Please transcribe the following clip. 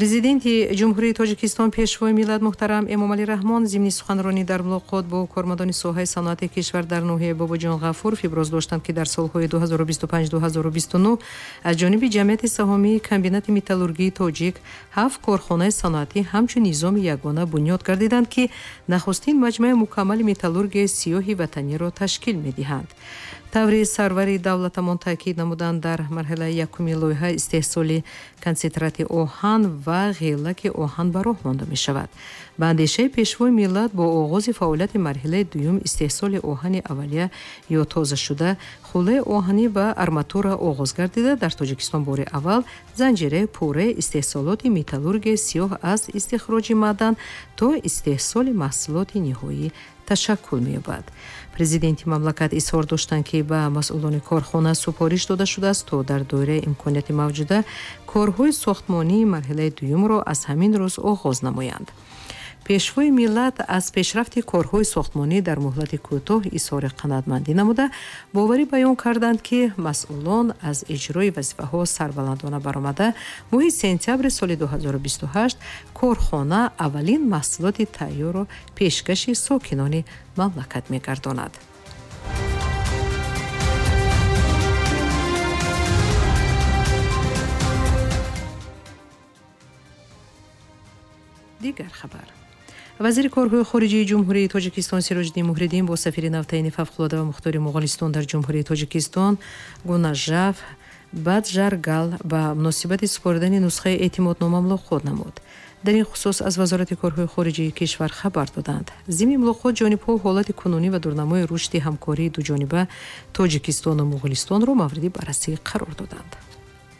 Президенти Ҷумҳурии Тоҷикистон, Пешвои миллат муҳтарам Эмомалӣ Раҳмон зимни суханронӣ дар мулоқот бо кормандони соҳаи саноати кишвар дар ноҳияи Бобоҷон Ғафуров иброз доштанд, ки дар солҳои 2025-2029 аз ҷониби ҷамъияти саҳомии комбинати металлургии тоҷик ҳафт корхонаи саноатӣ ҳамчун низоми ягона бунёд гардиданд, ки нахустин маҷмӯаи мукаммали металлургияи сиёҳи ватаниро ташкил медиҳанд. Таври сарвари давлатамон таъкид намуданд, дар марҳилаи якуми лоиҳа истеҳсоли консентрати оҳан ва ғелаки оҳан ба роҳ монда мешавад. Ба андешаи Пешвои миллат, бо оғози фаъолияти марҳилаи дуюм истеҳсоли оҳани аввалия ё тозашуда, хӯлаи оҳанӣ ва арматура оғоз гардида, дар Тоҷикистон бори аввал занҷираи пурраи истеҳсолоти металлургияи сиёҳ аз истихроҷи маъдан то истеҳсоли маҳсулоти ниҳоӣ ташаккул меёбад. Президенти мамлакат изҳор доштанд, ки ба масъулони корхона супориш дода шудааст, то дар доираи имконияти мавҷуда корҳои сохтмонии марҳилаи дуюмро аз ҳамин рӯз оғоз намоянд. Пешвои миллат аз пешрафти корҳои сохтмонӣ дар муҳлати кӯтоҳ изҳори қаноатмандӣ намуда, боварӣ баён карданд, ки масъулон аз иҷрои вазифаҳо сарбаландона баромада, моҳи сентябри соли 2028 корхона аввалин маҳсулоти тайёрро пешкаши сокинони мамлакат мегардонад. Дигар хабар. Вазири корҳои хориҷии Ҷумҳурии Тоҷикистон Сироҷиддин Муҳриддин бо сафири навтаини фавқулода ва мухтори Моғолистон дар Ҷумҳурии Тоҷикистон Гунажав Баджаргал ба муносибати супоридани нусхаи эътимоднома мулоқот намуд. Дар ин хусус аз Вазорати корҳои хориҷии кишвар хабар доданд. Зимни мулоқот ҷонибҳо ҳолати кунунӣ ва дурнамои рушди ҳамкории дуҷониба Тоҷикистону Моғолистонро мавриди баррасӣ қарор доданд.